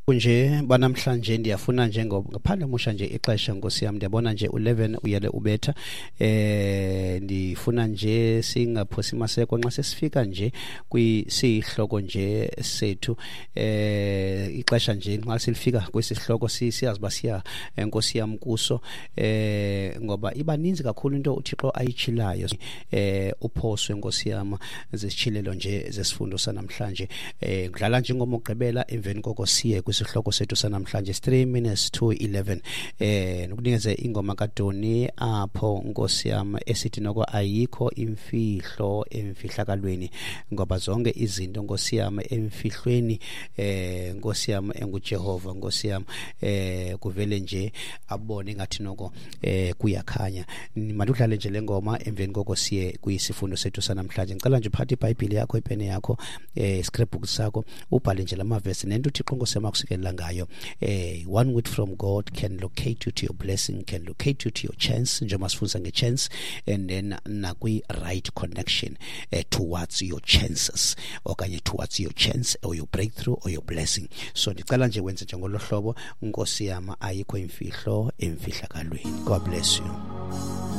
Nje banamhlanje ndiyafuna nje ngaphandle musha nje ixesha, nkosi yam, ndiyabona nje u-11 uyele ubetha. Ndifuna nje singaphosi maseko nxa sesifika nje kwisihloko nje sethu. Ixesha nje nxa silifika kwesi sihloko, siyazi uba siya, nkosi yam, kuso, ngoba iba ninzi kakhulu into uThixo ayitshilayo. Uphoswe, nkosi yam, zisitshilelo nje zesifundo sanamhlanje. Ngidlala nje ingoma okugqibela, emveni koko siye kwisihloko sethu sanamhlanje. 3 minutes to 11. Nokunikeze ingoma kaDoni apho, nkosi yam, esithi noko ayikho imfihlo emfihlakalweni, ngoba zonke izinto, nkosi yam, emfihlweni, nkosi yam enguJehova, nkosi yam, kuvele nje abone ngathi noko kuyakhanya. Mandudlale nje le ngoma, emveni koko siye kwisifundo sethu sanamhlanje. Ngicela nje uphathe iBhayibhile yakho, ipene yakho, scrapbook sakho, ubhale nje lamavesi nento uThixo, nkosi yam, akusikelela ngayo. One word from God can locate you to your blessing, can locate you to your chance, njengoba sifundisa nge-chance and then nakwi-right connection towards your chances okanye towards your chance or your breakthrough or your blessing. So ndicela nje wenze njengolo hlobo, nkosi yam, ayikho imfihlo emfihlakalweni. God bless you.